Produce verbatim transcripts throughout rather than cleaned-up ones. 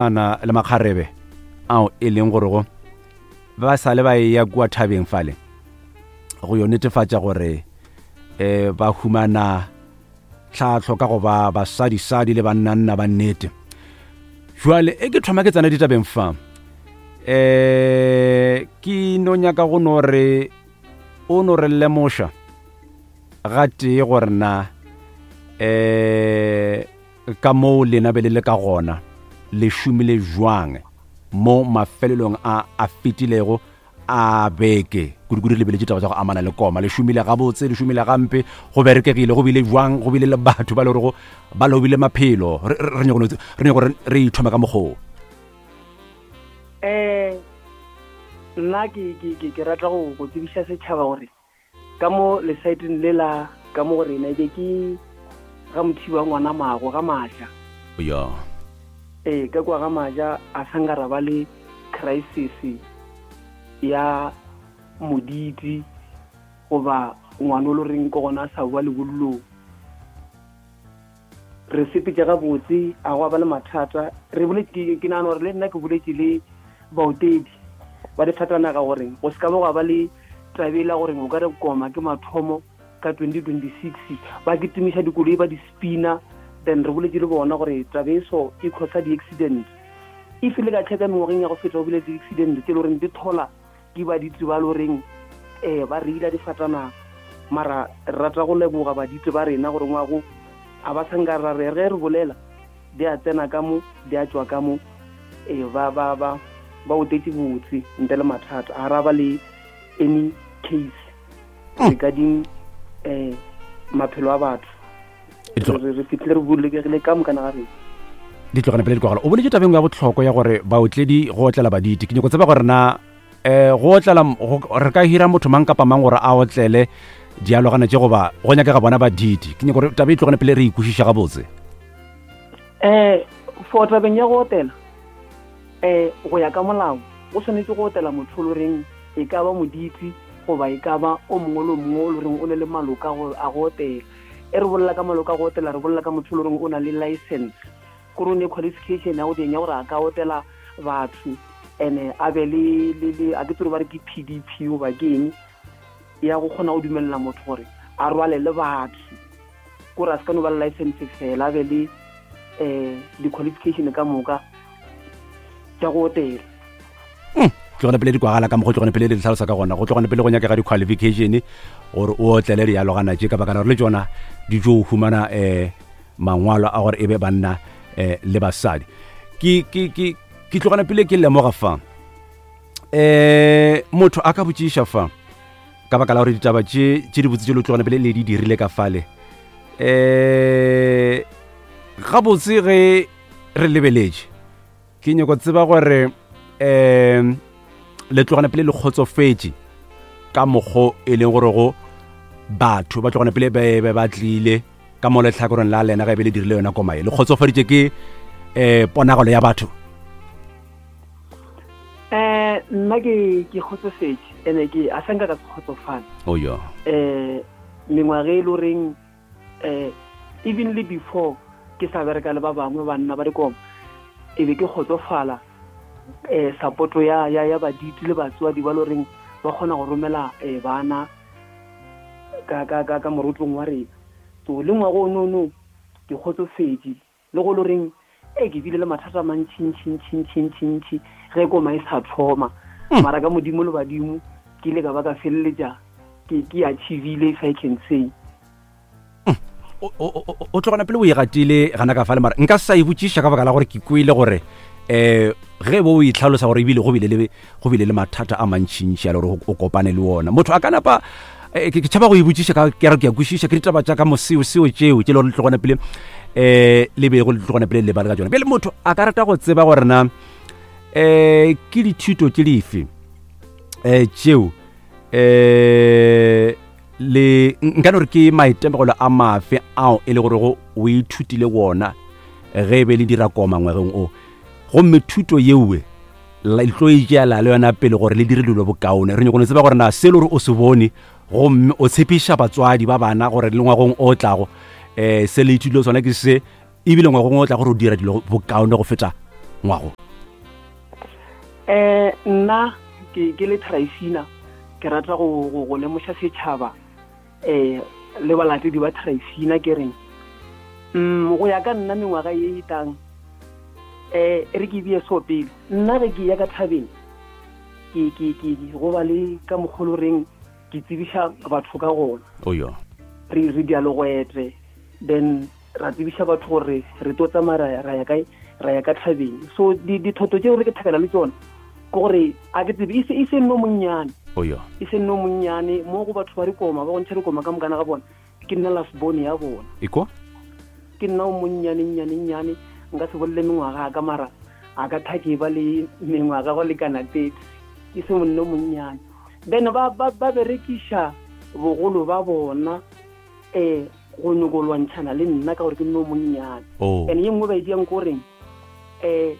Ana le makgarebe ao e leng gore go ba sa le ba eya kua thabeng fale go yo netefatša gore um ba humana tlhahlo ka go ba basadisadi le bannanna ba nnete. Jwale e ke thoma ke tsena ditabeng fa, um ke no nyaka go no re o no re lemoša gatee gore na um ka moo lena be le le ka gona le šomile jwang mo mafelelong a a fetilego a beke, kudu-kudu re lebeletše taba tša go amana le koma. Le šomile gabotse, le šomile gampe, go berekegile, go bile jwang, go bile le batho ba le gorego ba lobile maphelo? Re re- re nyako no- re nyako re re ithome ka mokgoo. um nna ke ke ke ke rata go go tsebiša setšhaba gore ka mo lesaeteng le la ka mo go rena e be ke ga Mothiba ngwana mago ga Maja. Ya. Ee, ka kwa ga Maja a sanka ra ba le crisis ya moditi goba ngwana o le reng ke gona a sa boa lebollong. Re sepetse gabotse, a go ba le mathata. Re boletse, ke nagana gore le nna ke boletše le baotedi ba difatanaga gore go se ka ba gwa ba le tabe la gore o ka re koma ke mathomo ka twenty twenty six ba kitimiša dikoloi ba di spina. Then re boletse le bona gore tabe e so e causa di-accident. If le ka checka mengwageng ya go feta, go bile di-accident tse e le goreng di thola ke baditse ba le goreng um ba reila difatanaga. Mara re rata go leboga baditse ba rena gore ngwago a ba sanka ra re ge re bolela di a tsena ka mo di a tšwa ka mo, ee, ba ba ba ba otetše botse ntle le mathata. A ra ba le any case regarding um maphelo a batho. E tlo- re re fitlhile re bolokegile ka mokana ga rena. Di tlogane pele dikwagala. O boletse tabeng ya botlhokwa ya gore baotledi go otlela baditi. Ke nyako tseba gore na um go otlela go- re ka hira motho mang kapa mang gore a otlele dialogana tše goba go nyakega bona baditi? Ke nyako gore taba e tlogane pele re ikwešiša gabotse. um for tabeng ya go otela, um go ya ka molao go tshwanetse go otela motho o le goreng e ka ba moditi goba e ka ba o mongwe le o mongwe o le goreng o ne le maloka go- a go otela. E re bolela ka maloka a go otela, re bolela ka motho o le goreng o na le license, kore o ne qualification ya go teng ya gore a ka otela batho, and-e a be le le le a ke tsere ba re ke P D P goba ke eng ya go kgona go dumelela motho gore a rwale le batho, kore a se ka no ba le license fela, a be le um di-qualification ka moka tša go otela. Tlogane pele di kwagala ka mo go tlogane pele di tlhalosa ka gona. Go tlogane pele go nyakega di-qualification gore o otlele dialogana tše, ka baka la gore le tšona di tšo humana um mangwalo a gore e be banna um le basadi. ke ke ke ke tlogane pele ke lemoga fa um motho a ka botšiša fa ka baka la gore ditaba tše tše di botse tše le tlogane pele le di dirile ka fale um gabotse ge re lebeletše, ke nyako tseba gore um le tlogane pele le kgotsofetše ka mokgo e leng gore go batho ba tlogane pele ba be ba tlile ka mo letlhakoreng la lena ge be le dirile yona koma e, le kgotsofaditše ke um ponagalo ya batho? um nna ke ke kgotsofetše, and-e ke a sanka ka se kgotsofala. Oyo. um mengwaga e le goreng um even le before ke sa bereka le ba bangwe banna ba dikoma, e be ke kgotsofala um support-o ya ya ya baditi le batswadi ba le goreng ba kgona go romela um bana ka ka ka ka morotlong wa rena. So le ngwago o nono ke kgotsofetše, le go le goreng e ke bile le mathata a mantšhintšhintšhintšhintšhintšhi ge koma e sa thoma, mara ka Modimo le badimo ke ile ka ba ka feleletša ke ke achievile, if I can say. o o- o o tlogana pele o e gatile gana ka fale, mara nka sa e botšiša ka baka la gore ke kwele gore um ge bo o itlhalosa gore ebile go bile le go bile le mathata a mantšhintšhi a le gore o kopane le ona, motho a ka napa eh, ke ke tšhaba go e botšiša ka ke re ke a kwešiša ke ditaba tša ka moseo seo tšeo tše le gore le tlogana pele um le bego le tlogana pele le lebale ka tšona. Bjale motho a ka rata go tseba gore na um ke dithuto tše dife um tšeo um le nka no re ke maitemogelo a mafe ao e le gore go o ithutile wona ge e be le dira koma ngwageng o, gomme thuto yeowe le tlo e tšeela le yona pele gore le dire dilo bokaone? Re nyako no tseba gore na se le gore o se bone gomme o tshepiša batswadi ba bana gore le ngwagong o tlago um se le ithutile sona ke se, ebile ngwagong o tla gore o dira dilo bokaone go feta. ngwago? Eh nna ke ke le Tryphina, ke rata go go lemoša setšhaba eh le balatedi ba Tryphina ke reng mm go ya ka nna mengwaga ye e tang eh re ke bie so pele nna ge ke ya ka thabeng ke ke ke go ba le ka mogolo reng ke tsebiša batho ka gona oyo re re dialogoetle then ra tsebiša batho gore re tlo tsamaya ra ya kae ra ya ka thabeng. So dithoto tseo re ke thakela le tsona ke gore a ke tsebe e se nno monnyane oyo e se nno monnyane mo go batho ba dikoma ba go ntšha dikoma ka mokana ga bona ke nna last born ya bona iko ke nna o monnyane nnyane nnyane nka se bolele mengwaga a ka mara a ka thake ba le mengwaga go lekana thirty ke se monno monnyane. Then ba ba ba berekiša bogolo ba bona eh go nyoko lwantšhana le nna ka gore ke nno monnyane. And ye nngwe ba e diang ko reng eh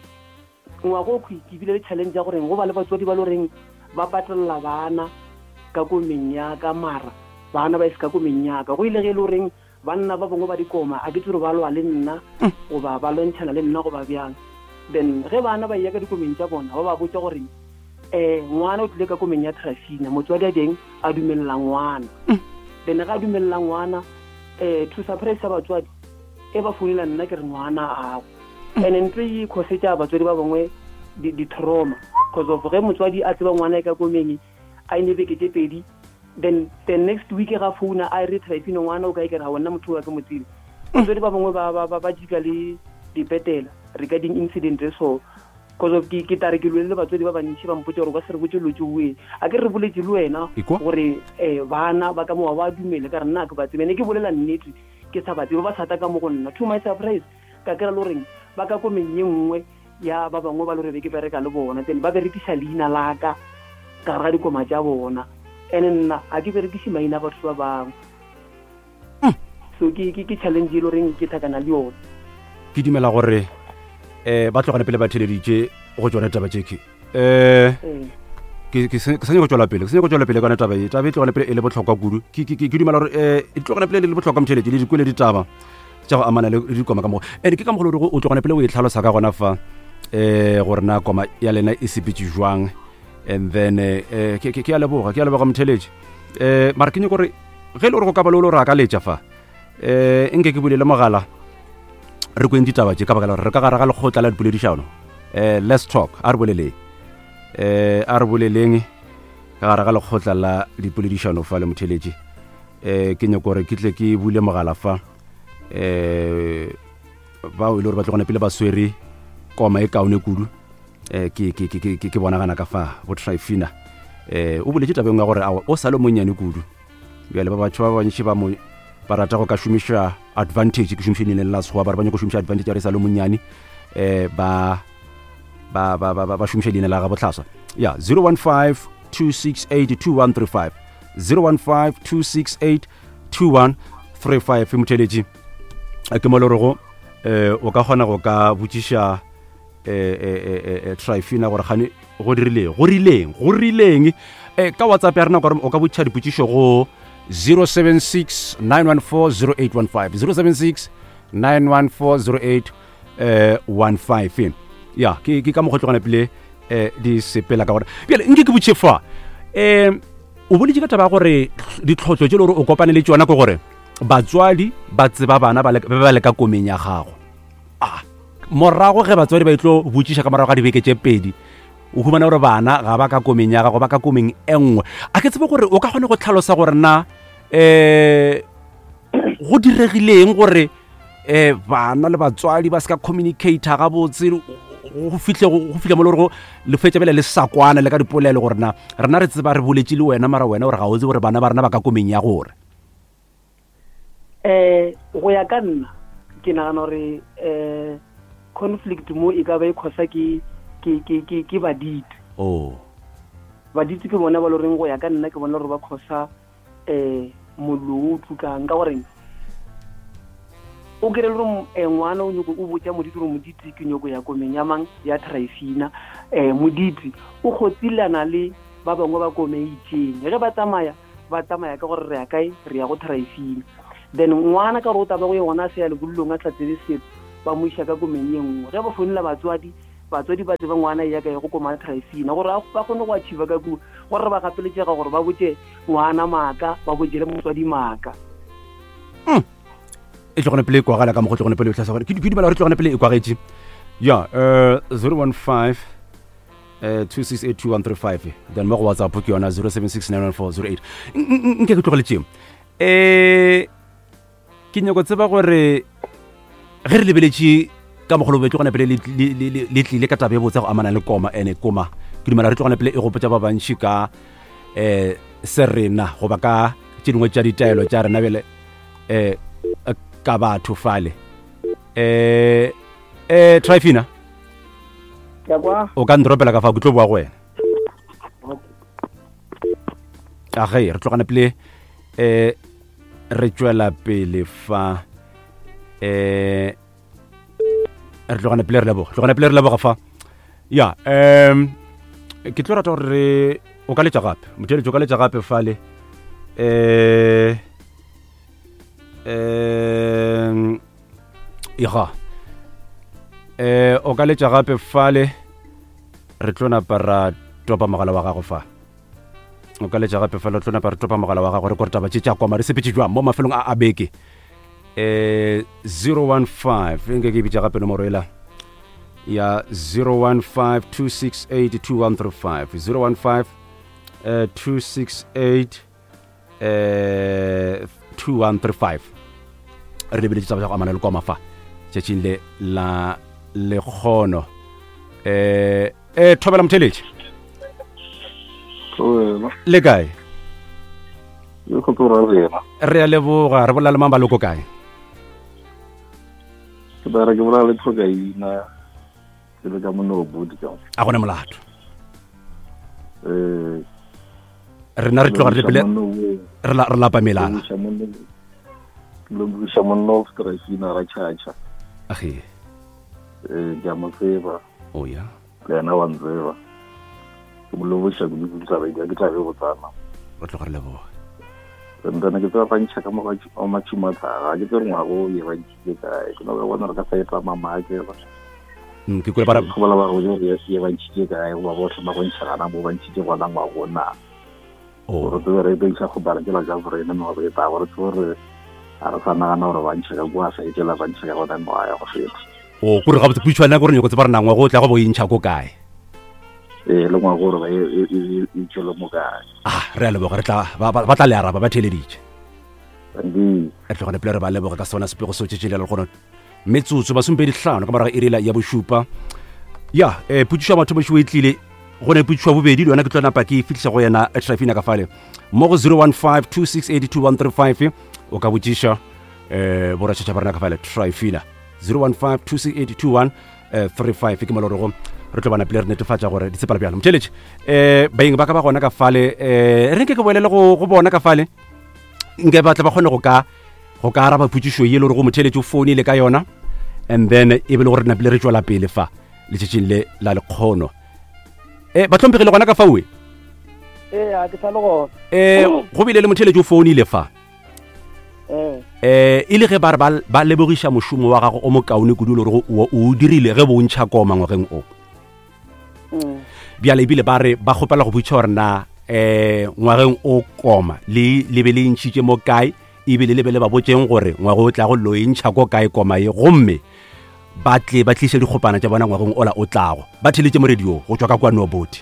ngwago o ke bile le challenge ya goreng go ba le batswadi ba le goreng ba patelela bana ka komeng ya ka mara bana ba e se ka komeng ya ka go ile ge e le goreng banna ba bangwe ba dikoma a ke tsere ba lwa le nna goba ba lwantšhana le nna goba bjang. Then ge bana ba ya ka dikomeng tša bona ba ba botša gore eh ngwana o tlile ka komeng ya Tryphina motswadi a teng a dumelela ngwana. Then ga a dumelela ngwana eh to surprise batswadi e ba founela nna ke re ngwana ago. And ntwe e khosetša batswadi ba bangwe di-trauma because of ge motswadi a tseba ngwana e ka komeng a ine beke tše pedi then the next week ga founa a re Tryphina ngwana o kae ke re ga wena motho wa ke mo tsebe. Batswadi ba bangwe ba ba ba jika le dipetela regarding incident so because of ke ke tare ke lwele le batswadi ba bantši ba mpotša gore ba se re botse lotse oe a ke re boletse le wena gore eh bana ba ka moa ba dumele ka re nna ke ba tsebe ne ke bolela nnete ke sa ba tsebe ba sata ka mo go nna. To my surprise ka kry-a le goreng ba ka komeng ye nngwe ya ba bangwe ba le gore be ke bereka le bona then ba berekisa leina la ka ka gare ga dikoma tša bona and nna ga ke berekise maina a batho ba bangwe. So ke ke challenge e le goreng ke thakana le yona. Ke dumela gore eh ba tlogane pele ba theleditše go tsona taba tše ke eh ke ke sa nyaka go tswela pele ke sa nyaka go tswela pele ka taba e taba e tlogane pele e le bohlokwa kudu. Ke ke ke dumela gore eh e tlogane pele e le bohlokwa motšheletše le dikwele ditaba tša go amana le dikoma ka mogo and ke ka mogolo gore o tlogane pele o e tlhalosa ka gona fa eh gore na koma ya lena e sepetse jwang and then eh ke ke a leboga ke a leboga motšheletše eh mara ke nyaka gore ge le gore go ka ba le o re akaletša fa eh nke ke bulele mogala re kweng ditaba tše ka baka la gore re ka gare ga lekgotla la dipoledišano eh let's talk a re boleleng eh a re boleleng ka gare ga lekgotla la dipoledišano fa le motheletši eh ke nyaka gore ke tle ke bule mogala fa eh bao e le gore ba tlogane pele ba swere koma e kaone kudu eh ke ke ke ke ke bonagana ka fa bo Tryphina eh o boletše tabeng ya gore a o sa le monnyane kudu bjale ba batho ba bantši ba mo ba rata go ka šomiša advantage ke šomiše leina la Sekgowa ba re ba nyaka go šomiša advantage ya re sa le monnyane eh ba ba ba ba ba šomiša leina la ga bohlaswa ya zero one five two six eight two one three five zero one five two six eight two one three five motheletši ke mo le rego eh o ka kgona go ka botšiša eh eh eh Tryphina gore gane go dirileng go rileng go rileng eh ka WhatsApp ya rena o ka botšiša dipotšišo go zero seven six nine one four zero eight one five zero seven six nine one four zero eight one five ya ke ke ka mokgwa tlogana pele eh di sepela ka gore bjale nke ke botše fa eh o boletše ka taba ya gore ditlhotlo tše le gore o kopane le tšona ke gore batswadi ba tseba bana ba ba le ka komeng ya gago ah morago ge batswadi ba itlo botšiša ka morago ga dibeke tše pedi o humana gore bana ga ba ka komeng ya gago ba ka komeng e nngwe a ke tsebe gore o ka kgone go tlhalosa gore na eh go diregileng gore eh bana le batswadi ba se ka communicate gabotse go fihle go fihle mo le gore le fetša bele le sakwana le ka dipolelo gore na rena re tseba re boletše le wena mara wena gore ga o tsebe gore bana ba rena ba ka komeng ya gore eh go ya ka nna ke nagana gore eh conflict mo e ka ba e khosa ke ke ke ke ke baditi oh baditi ke bona ba le reng go ya ka nna ke bona gore ba khosa eh mollo o tukang ka gore o kere le gore ngwana o nyoko o botša moditi gore moditi ke nyoko ya komeng ya mang ya Tryphina eh moditi o kgotsilana le ba bangwe ba komeng itseng ge ba tsamaya ba tsamaya ka gore re ya kae re ya go Tryphina then ngwana ka gore o taba go yona a se ya lebollong a sa tsebe selo ba mo iša ka komeng ye nngwe ge ba founela batswadi Batswadi ba tseba ngwana ya kae go koma Tryphina gore ba kgone go achieve ka ku gore ba gapeletšega gore ba botse ngwana maaka ba botse le motswadi maaka. E tlogone pele e kwagala ka mo go tlogone pele o tlhasa gore ke dumela gore tlogone pele e kwagetše. Ya eh zero one five eh two six eight two one three five then mo go WhatsApp ke yona zero seven six nine one four zero eight. Nke ke tlogele tšeo. Eh ke nyako tseba gore ge re lebeletše ka mogolo be tlogone pele le tlile ka taba e botsa go amana le koma ene koma ke dumela re tlogone pele e gopotsa ba bantši ka eh se rena goba ka tše dingwe tša ditaelo tša rena bjale eh ka batho fale. Eh eh Tryphina o ka ndropela ka fa ke tlo boa go wena. A ge re tlogane pele eh re tšwela pele fa eh re tlogane pele re leboga tlogane pele re leboga fa. Ya um ke tlo rata gore o ka letša gape motheletši o ka letša gape fale eh um ega eh o ka letša gape fale re tlo napa ra topa mogala wa gago fa. O ka letša gape fale re tlo napa re topa mogala wa gago re kore taba tše tša koma re sepetše jwang mo mafelong a a beke. Eh zero one five nke ke bitša gape nomoro ela ya zero one five two six eight two one three five zero one five two six eight two one three five. Re lebeletše taba tša go amana le koma fa tšatšing le la lekgono. Eh eh thobela motheletši. Le kae? Re a leboga. Re bolela le mang ba loko kae? Ke bara ke bolela le Tlhokaina ke le ka Monobodi ka. A gona molato. Eh rena re tloga re pele re la re lapa melala. Ke buša monno Tryphina ra tšhatšha. Age. Eh ke a mo tseba. O ya. Le yena wa ntseba. Ke mo leboša kudu kudu taba e ke tla be go tsana. Re tloga re leboga. Ntana ke tseba bantšha ka mo ga matšhumathaga ke tsere ngwago ye ba ntšhitše kae ke no bona re ka sa etla mamake ba. Mm ke kule bara go bola ba go ye ye ba ntšhitše kae goba bohle ba go ntšha gana mo ba ntšhitše gona ngwago na. Gore tsebe re be isa go bala ke la ja gore ene mo re ta gore tsebe re a re sa nagana gore ba ntšha ka kwa sa etela ba ntšha ka gona ngwaga ya go feta. O kore ga botse putšwana gore nyoko tseba re nangwa go tla go bo intšha ko kae. Eh le ngwago gore ba e e tšwele mo kae. Ah re a leboga re tla ba tla le araba ba theleditše. Ndi re tlogane pele re ba leboga ka sona sepego seo tšetšele le gona metsotso masompedi hlano ka morago iri ya bošupa. Ya eh putšo ya mathomo e tlile go ne putšo ya bobedi le yona ke tlo napa ke fitlhisa go yena Tryphina ka fale mo go zero one five two six eight two one three five o ka botšiša eh boratšhatša ba rena ka fale Tryphina zero one five two six eight two one three five ke molorego re tlo bana pele re netefatša gore di tsepala bjalo. Motheletši eh baeng ba ka ba gona ka fale eh re nke ke boelele go go bona ka fale nke ba tla ba kgone go ka go ka araba putšišo ye le gore go motheletši o founile ka yona and then e be le gore re napile re tšwela pele fa letšatšing le la lekgono. Eh ba hlomphegile gona ka faue? Eh a ke sa le gona. Eh go bile le motheletši o founile fa. Eh eh e le ge ba re ba lebogiša mošomo wa gago o mokaone kudu le gore o o dirile ge bo ntšha koma ngwageng o. Bjale ebile ba re ba kgopela go botša gore na eh ngwageng o koma le le be le ntšhitše mo kae ebile le be le ba botšeng gore ngwago o tla go lo e ntšha ko kae koma ye gomme ba tle ba tliše dikgopana tša bona ngwageng ola o tlago. Ba theletše mo radio go tšwa ka kwa Noboti.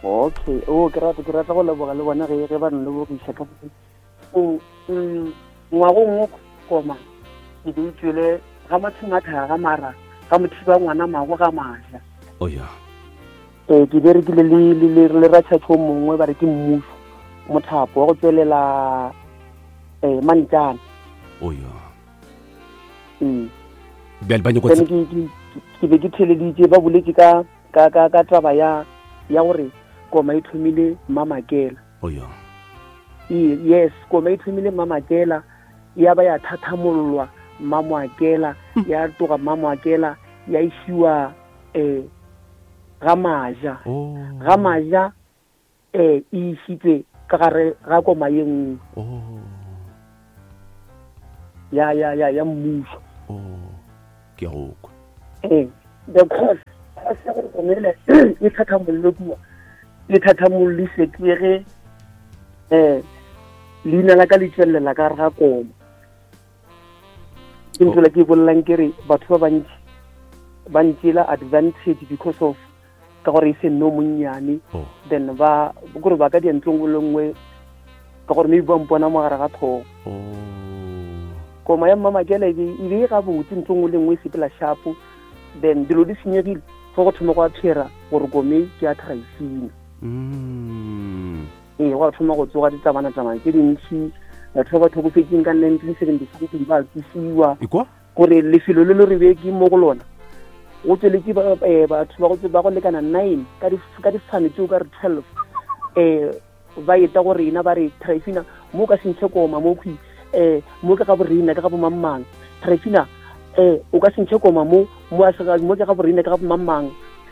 Okay, o ke rata ke rata go leboga le bona ge ge ba nlebogiša ka o ngwagong o koma ke be tswele ga matšhumathaga mara ga mothiba ngwana mago ga maja. O ya. Eh ke berekile le le le ratšhatšho mongwe ba re ke mmušo mothapo wa go tswelela eh mantjana. O ya. Mm. Bjale ba nyako ke ke be ke theleditše ba boletše ka ka ka ka taba ya ya gore koma e thomile Mmamakela. O ya. Yes, koma e thomile Mmamakela ya ba ya thathamollwa Mmamoakela ya toga Mmamoakela ya isiwa eh ga maja. Ga maja eh e isitse ka gare ga koma ye nngwe. Oh. Ya ya ya ya mmušo. Oh. Ke go kwa. Eh The cause a se gore komele e thathamolle kua e thathamollise ke ge um leina la ka le tswelela ka gare ga koma. Ke ntho la ke bolelang ke re batho ba bantši ba ntšela advantage because of ka gore e se nno monnyane. Oh. Then ba kore ba ka dia ntlo nngwe le nngwe ka gore maybe ba mpona mo gare ga tlhogo. Oh. Koma ya Mmamakela e be e be e gabotse, ntlo nngwe le nngwe e sepela sharp. Then dilo di senyegile ge go thoma go a phera gore kome ke ya Tryphina. Mm. Ee, go a thoma go tsoga ditabana-tabana tse dintšhi, batho ba ba tlhokofetseng ka nineteen seventy something ba tsosiwa. Ekwa? Gore lefelo le le re be ke mo go lona go tsweletse ba, eh, batho ba go tse-, ba go lekana nine ka di-, ka difane tseo ka re twelve, eh, ba eta go rena ba re Tryphina mo ka se ntšhe koma mo khwi, eh, mo ke ga borena ke ga bomangmang. Tryphina, eh, o ka se ntšhe koma mo, mo a se ga-, mo ke ga borena ke ga bomangmang.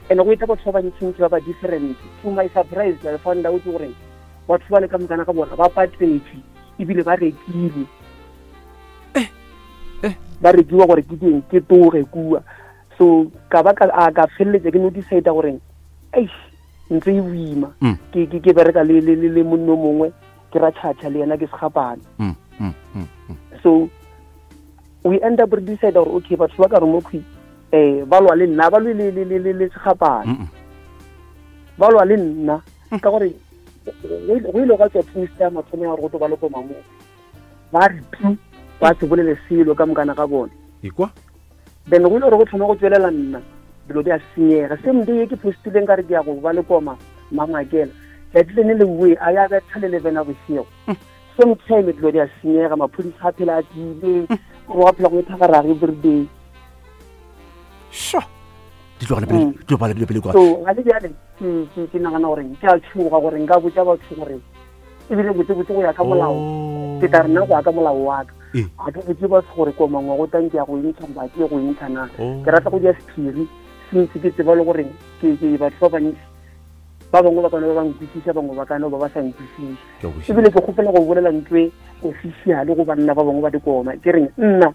And go eta batho ba bantšintši ba ba different. To my surprise, I found out gore batho ba le ka mokana ga bona ba patletše ebile ba rekile. Eh, eh. Ba rekiwa gore ke eng, ke toge kua. So ka ba ka, a ka feleletsa ke no decide gore eish, ntse e boima. Mm. Ke, ke, ke bereka le, le, le, le monna o mongwe, ke ra tšhatšha le yena ke segapane. Mm, mm, mm, mm. So we end up re decide gore okay, batho ba ka re mo khwi, eh, ba lwa le nna, ba lwe le, le, le, le, le segapane. Mm, mm. Ba lwa le nna ka gore go ile gwa tswa post ya mathomo ya gore go tlo ba le koma mo. Ba re tu, ba se bolele selo ka mokana ga bona. Ekwa? Then go ile gore go thoma go tswelela nna, dilo di a senyega. Same day e ke postileng ka re ke ya go ba le koma Mmamakela, tšatši le ne le boe, a ya betha le eleven ya bošego. Mm. Same time dilo di a senyega, maphodisa a phela a tlile, Mm. gore wa phela go ithagaraga everyday. Sure. Di tlogele pele, Mm. di tlogele pele, pele kwa. So ga le bjale ke, ke, ke nagana gore ke a tshoga gore nka botša batho gore ebile botsebotse go ya ka molao. Oh. Ke tla re nna go ya ka molao wa ka. Ee. Ga ke botse batho gore koma ngwaga o tang ke ya go e ntsha goba ke ye go e ntsha na. Oh. Ke rata go dia sephiri since ke tseba le gore ke, ke batho ba bantši ba bangwe ba ka no ba ba nkwešiša, bangwe ba ka no ba ba sa nkwešiše. Ke a kwešiša. Ebile ke kgopela go bolela ntho e official go banna ba bangwe ba dikoma. Ke reng nna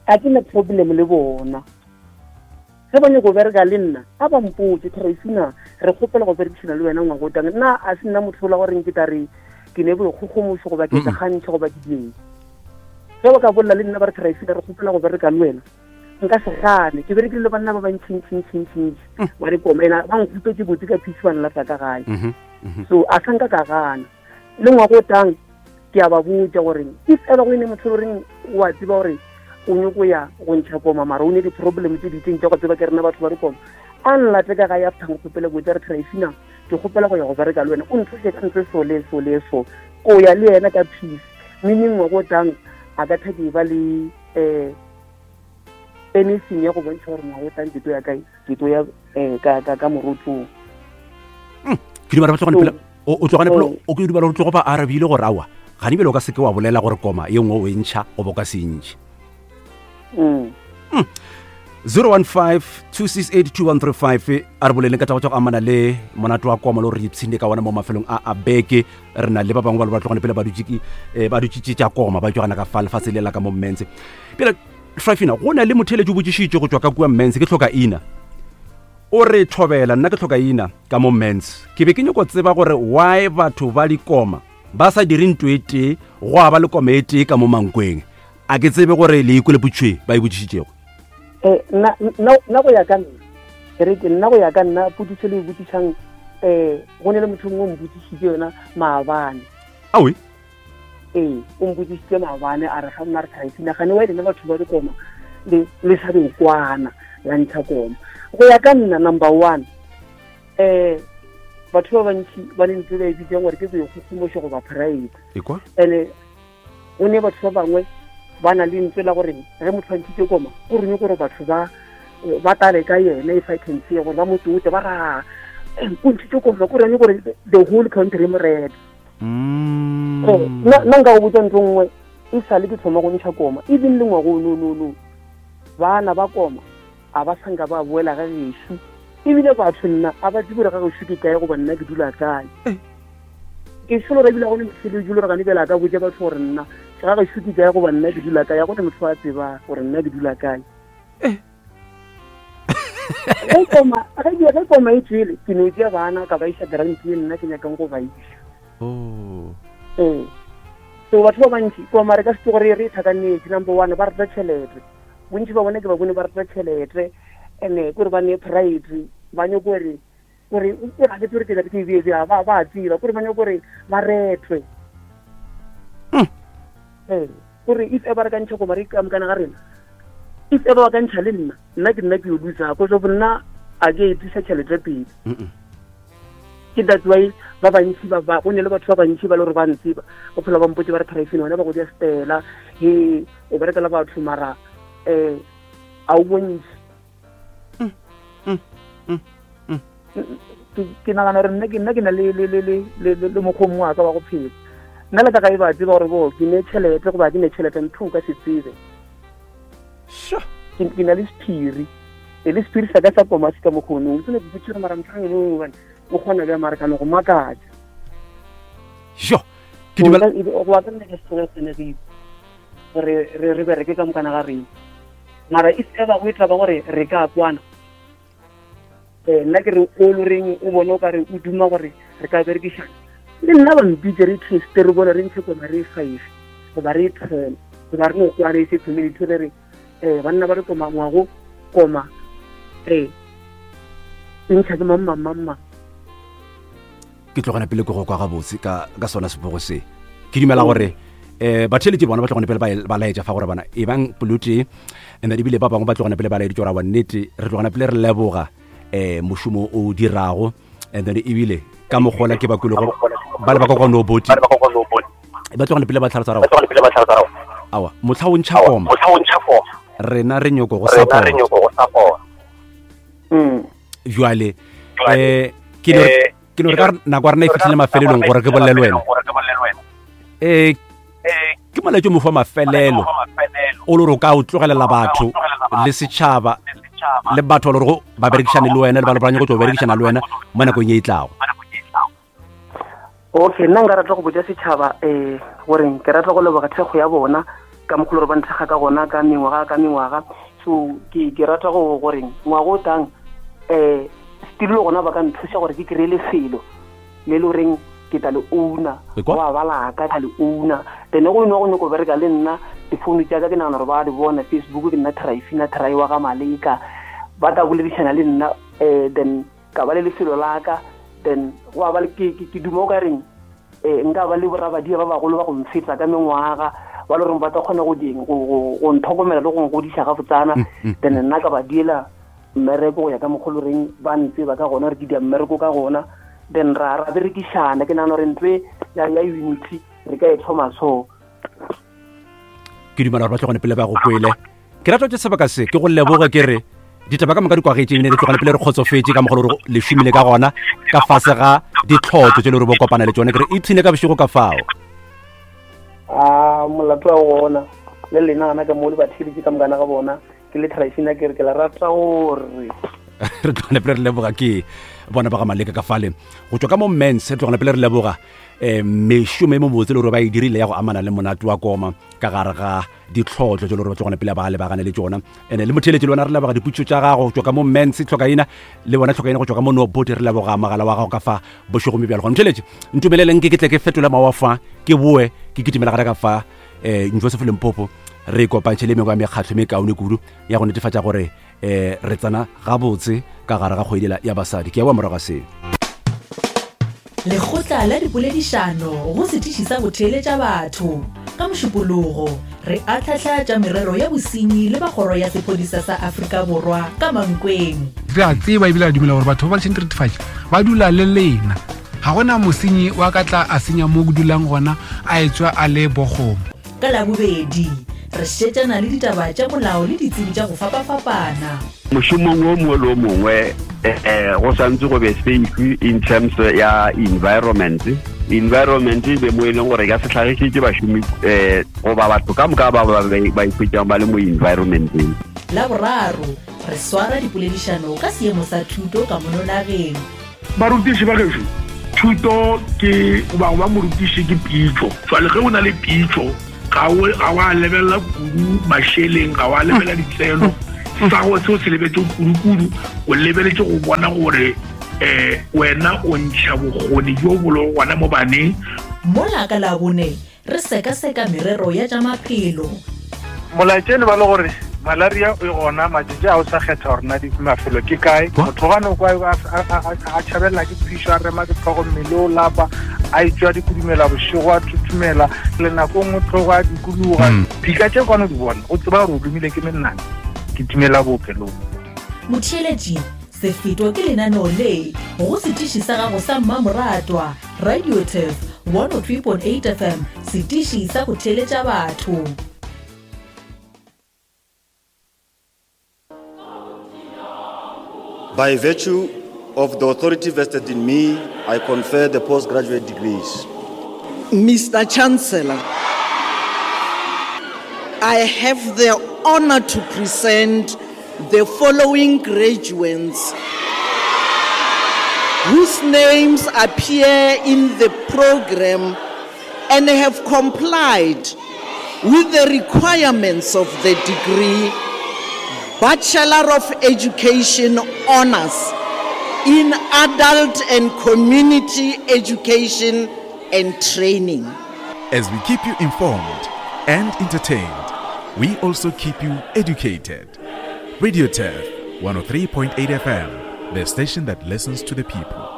ga ke na problem le bona. Ge ba nyaka go bereka le nna, a ba mpotse, Tryphina, re kgopela go berekisana le wena ngwaga o tang. Nna a se nna motho ola gore ke tla re ke ne boikgogomošo goba ke Mm-mm. kgantšha goba ke dieng. Ge ba ka bolela le nna ba re Tryphina, re kgopela go bereka le wena, nka se gane. Ke berekile le banna ba bantšintšintšintšintši Mm. ba dikoma, ena ba nkgopetse botse ka peace ba nlata ka gae. Mhm, mhm. So a sa nka ka gana. Le ngwaga o tang ke a ba botša gore if ever go ene motho o reng o a tseba gore o nyako ya go ntšha koma, mara o ne di-problem tse di itseng tša go tseba ke rena batho ba dikoma, a nlate ka gae after nkgopele botse a re Tryphina, ke kgopela go ya go bereka le wena, o nthuse ka ntho so le so le so, ko ya le yena ka peace. Meaning ngwaga o tang a ka tha ke ba le, eh, anything ya go bontšha gore ngwaga o tang ke tlo ya kae, ke tlo ya, eh, ka, ka, ka morotsong. Mm. Ke dumela ba tlogane So, pele, o, o tlogane pele, oh. o ke dumela gore tlogo ba arabile gore aowa, ga di bjale o ka se ke wa bolela gore koma ye nngwe o e ntšha goba o ka se e ntšhe. Mm. Mm. zero one five, two six eight, two one three five, a re boleleng ka taba tša go amana le monate wa koma le gore re ipshine ka ona mo mafelong a a beke. Re na le ba bangwe ba le ba tlogane pele ba dutše ke, eh, ba dutšitše tša koma, ba tšwa gana ka fa lefatshe le la ka mo Mmense. Pele, Tryphina, go na le motheeletši o botšišitše go tšwa ka kua Mmense, ke hloka ina. O re thobela, nna ke hloka ina ka mo Mmense. Ke be ke nyako tseba gore why batho ba dikoma ba sa dire ntho e tee, go a ba le koma e tee ka mo Mankweng. A ke tsebe gore le ikwele potšo e ba e botšišitšego. Eh, nna, nna, nna go ya ka nna, e re ke nna go ya ka nna, potšišo le e botšišang, eh, go ne le motho mongwe o mpotšišitše yona maabane. Aowe? Ee, o mpotšišitše maabane, a re ga nna re Tryphina, gane wa e lena batho ba dikoma, le, le sa be kwana, la ntšha koma. Go ya ka nna, number one, eh, batho ba bantši ba ne ntse ba e bitsang gore ke boikgogomošo goba pride. Ekwa? Ene, go ne batho ba bangwe ba na le ntse la gore ge motho a ntšhitše koma, go reng gore batho ba, ba tale ka yena, if I can say, gore ba mo tote, ba ra, eh, o ntšhitše koma, go reng gore the whole country mo rete. Mm. Eh, nna, nna nka go botša ntho nngwe, e sale ke thoma go ntšha koma, even le ngwaga o no, no, no, bana ba koma a ba sa nka ba boela ga gešo, ebile batho nna a ba tsebe gore ga gešo ke kae goba nna ke dula kae. Eh. Ke solo re ebile ga go ne motho le jolo re gane bjale a ka botša batho gore nna ga gešo ke kae goba nna ke dula kae, ga go ne motho a tseba gore nna ke dula kae. Eh. Ge koma ge koma e tswele ke no tšea bana ka ba iša grant ye nna ke nyakang go ba iša. Oh. Ee. So batho ba bantši koma re ka se gore re tlhakanetse number one ba rata tšhelete. Bontši ba bona ke ba bone ba rata tšhelete ene kore ba ne pride ba nyako gore gore e ga ke tsore ke ke be ba ba tseba kore ba nyako gore ba retwe. Ee, gore if ever re ka ntšha koma re ka mokana ga rena if ever ba ka ntšha le nna nna ke nna ke yo losa ko so nna a ke e tlisa tšhelete pele. Ke that's why ba bantši ba ba go ne le batho ba bantši ba le gore ba ntseba o phela ba mpotse ba re Tryphine wena ba go dia stela he o berekela batho mara eh a o bontši. Ke nagana gore nna ke nna ke na le le le le le mokgwa mongwe wa ka wa go phela. Nna le ka ga e ba tseba gore bo ke ne tšhelete goba ke ne tšhelete ntho o ka se tsebe. Ke na le sephiri e le sephiri sa ka sa koma se ka mokgonong se ne ke botse gore mara motho gobane o kgona bja mara ka no go makatša. Jo ke dumela go ka nna ke se tsenegile gore re re bereke ka mokana ga rena mara if ever go e tla ba gore re ka kwana eh nna ke re o loreng o bone o ka re o duma gore re ka berekišana le nna ba mpitse re teste re bone re ntshe koma re five goba re ten goba re no kwana e se community re re eh banna ba re koma ngwago koma eh ntšha ke mang mang mang. Ke tlogana pele ke go kwa gabotse ka ka sona sepogo se ke dumela gore eh batheletši bona ba tlogane pele ba laetša fa gore bana e bang polotee and then ebile ba bangwe ba tlogana pele ba laeditše gore wa nnete re tlogana pele re leboga eh mošomo o dirago and then ebile ka mogola ke ba kwele go ba le ba kwa no boti ba tlogane pele ba tlhalosa ra awa motlha o ntšha koma rena re nyoko go support mm jwale eh ke no ke no re ka nako ya rena e fihlile mafelelong gore ke bolele le wena eh ke molaetšo mo fa mafelelo o le gore o ka o tlogelela batho le setšhaba le batho ba le gore ba berekišane le wena le ba le ba nyako tlo berekišana le wena mo nakong ye e tlago. Okay, nna nka rata go botša setšhaba um gore ke rata go leboga thekgo ya bona ka mokgwa gore ba nthekga ka gona ka mengwaga ka mengwaga. So ke ke rata go gore ngwaga o tang um still le gona ba ka nthuša gore ke kry-e lefelo le le goreng ke tla le owner wa ba laka ka le owner then go ino go nyako bereka le nna difounu tša ka ke nagana gore ba di bona Facebook ke nna Tryphine Try wa ga Maleka ba tla boledišana le nna um then ka ba le lefelo la ka then go ba ke ke duma o ka reng eh nka ba le borabadia ba bagolo ba go mfetsa ka mengwaga ba le gore ba tla kgona go ding go go ntlhokomela le go ngodiša ga botsana then nna ka ba diela mmereko go ya ka mokgolo reng ba ntse ba ka gona re ke dia mmereko ka gona then ra ra berekišana ke nagana gore ntwe ya ya unity re ka e thoma so. Ke dumela gore ba tlogane pele ba go kwele ke rata tse sebaka se ke go leboga ke re ditaba ka moka di kwagetše ebile re tlogane pele re kgotsofetše ka mogolo gore le šomile ka gona ka fase ga ditlhotlo tše le gore bo kopana le tšone ke re ipshine ka bošego ka fao. A molato wa gona le lena gana ka mo le batheletše ka mokana ga bona ke le Tryphine ke re ke la rata gore re tlogane pele re leboga ke bona ba ga Maleka ka fale go tswa ka mo mens re tlogane pele re leboga um mešomo e mo botse le gore ba e dirile ya go amana le monate wa koma ka gare ga ditlhotlo tše le gore ba tlogane pele ba lebagane le tšona ene le motheletši le wena re leboga diputšo tša gago go tswa ka mo mens tlhokaina le bona tlhokaina go tswa ka mo nobote re leboga mogala wa gago ka fa bošego mme bjalo gona motheletši ntumeleleng ke ke tle ke fetola mawa fa ke boe ke kitimela gare ka fa um Joseph Limpopo re kopantšhe le mengwe ya mekgatlho me kaone kudu ya go netefatša gore um re tsena gabotse ka gare ga kgwedi ya basadi. Ke ya boa morago ga seo. Lekgotla la dipoledišano go setiši sa go theeletša batho ka Mošupologo re atlhahla tša merero ya bosenyi le ba kgoro ya sephodisa sa Afrika Borwa ka Mankweng. Re a tseba ebile a dumela gore batho ba ba lešeng diretefatši ba dula le lena ga gona mosenyi wa ka tla a senya mo ke dulang gona a etswa a le bokgomo. Ka Labobedi re šetšana le ditaba tša molao le ditsebi tša go fapafapana. Mošomong o mongwe le o mongwe eh go santse go be safe in terms ya environment. Environment e be mo e leng gore ka se tlhagišitše bašomi eh goba batho ka moka ba ba ba ikhwetšang ba le mo environmenteng. Laboraro re swara dipoledišano ka seemo sa thuto ka mono nageng. Barutiši ba gešo, thuto ke goba go ba morutiši ke pitšo. Jwale ge o na le pitšo ga o ga wa lebelela kudu mašeleng, ga wa lebelela ditseno, Sa go seo se lebetse kudu-kudu, o lebeletse go bona gore um wena o ntšha bokgoni bjo bo lego gona mo baneng. Mola ka Labone re sekaseka merero ya tša maphelo. Molaetšene ba le gore malaria e gona matšatši a o sa kgetha gore na mafelo ke kae. Motho gane kwa a tšhabelela ke phišo, a rema ke tlhogo, mmele o lapa, a etswa dikudumela bošego, a thuthumela le nako nngwe tlhogo a dikologa. Dika tše kwane di bona, o tseba gore o lomile ke menana, ke timela bookelong. Motheeletši, sefeto ke lenaneo le go setiši sa gago sa mmamoratwa Radio Turf one oh three point eight F M, setiši sa go theeletša batho. By virtue of the authority vested in me, I confer the postgraduate degrees. Mister Chancellor, I have the honor to present the following graduates whose names appear in the program and have complied with the requirements of the degree Bachelor of Education Honors in Adult and Community Education and Training. As we keep you informed and entertained, we also keep you educated. Radio Turf one oh three point eight F M, the station that listens to the people.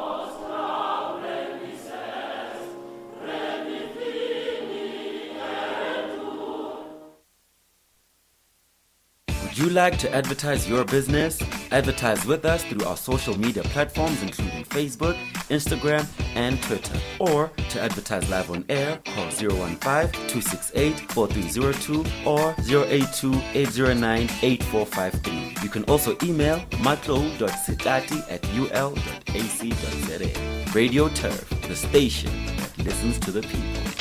Would you like to advertise your business? Advertise with us through our social media platforms including Facebook, Instagram, and Twitter. Or to advertise live on air, call zero one five, two six eight, four three zero two or zero eight two, eight zero nine, eight four five three. You can also email matlo dot setati at u l dot a c dot z a. Radio Turf, the station that listens to the people.